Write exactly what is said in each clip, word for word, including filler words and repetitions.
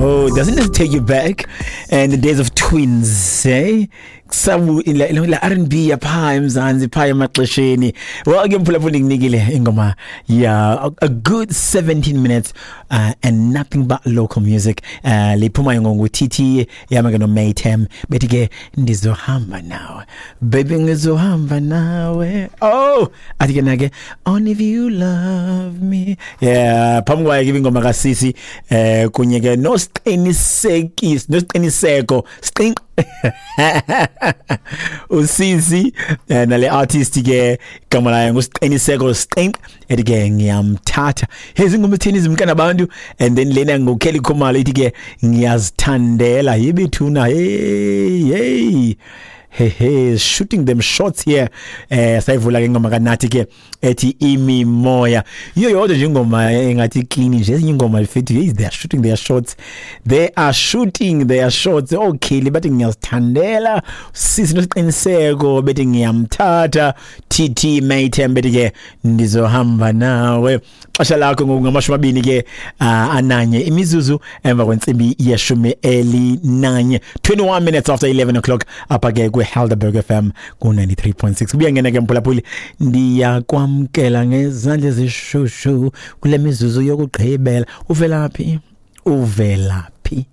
Oh, doesn't it take you back? And the days of twins, eh? Sabu la la R and B yapha eMzansi pha emaxesheni. Well, ke mphulaphuli nginikile ingoma yeah, a good seventeen minutes uh, and nothing but local music. Uh liphuma ngongu T T yama ke no Maytem bethi ke ndizohamba nawe. Baby ngizohamba nawe. Oh, athi ke nake only if you love me. Yeah, phambi kwaye ke ingoma kaSisi eh kunye ke no siqinisekisi nosiqiniseko siqin usisi nale artist ke igama layo ngusiqiniseko siqin ethi ke ngiyamthatha hezi ingoma ethini izimkana abantu and then lena ngoKelly Khumalo ithi ke ngiyazithandela yibethuna hey hey hey hey shooting them shots here eh sayivula ke ingoma kaNathi ke ethi imimoya iyo yodwa nje ingoma engathi clean nje ezinye ingoma lifithi they are shooting their shots they are shooting their shots okay bathi ngiyazithandela sisi nosiqiniseko bethi ngiyamthatha T T Maytem bethi ke ndizohamba nawe xesha lakho ngokungamashumi amabini ke ananye imizuzu emva kwentsimbi yeshumi elinanye twenty-one minutes after eleven o'clock apha ke kwe Helderberg F M ku ninety-three point six kuyangena ke mphulaphuli ndiyakwamkela ngezandla ezishushu kule mizuzu yokugqibela uvelaphi uvelaphi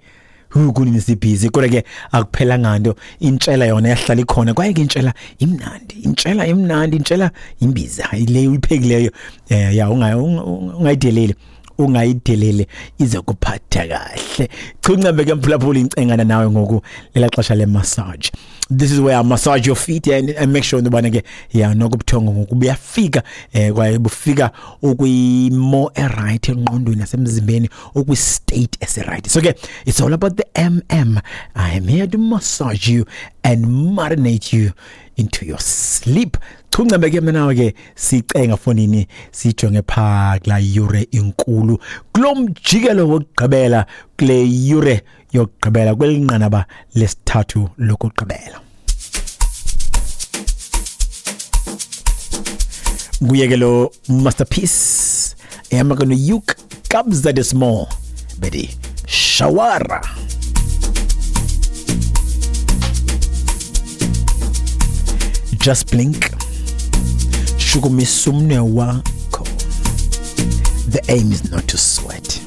kunini sibhizi kodwa ke akuphelanga nto intshela yona yahlala ikhona kwaye ke intshela imnandi intshela imnandi intshela imbiza le uyiphekileyo eh ya ungayideleli ungayidelele izokuphatha kahle chunca ke mphulaphuli incengana nawe ngoku lela xesha le massage. This is where I massage your feet and, and make sure ndibana ke ya nokubuthongo ngoku buyafika eh kwaye bufika ukwimo eright engqondweni nasemzimbeni ukwi state esi right. So ke it's all about the M M. I am here to massage you and marinate you into your sleep. Chunca ke mina ke sicenga fonini sijonge pha kula yure inkulu kulomjikelo wokugqibela kule yure yokugqibela kwelinqanaba lesithathu lokugqibela. Nguye lo masterpiece ehamba no Yuk Kabza De Small bedi Shawara. Just blink. Shukumisumne wakho. The aim is not to sweat.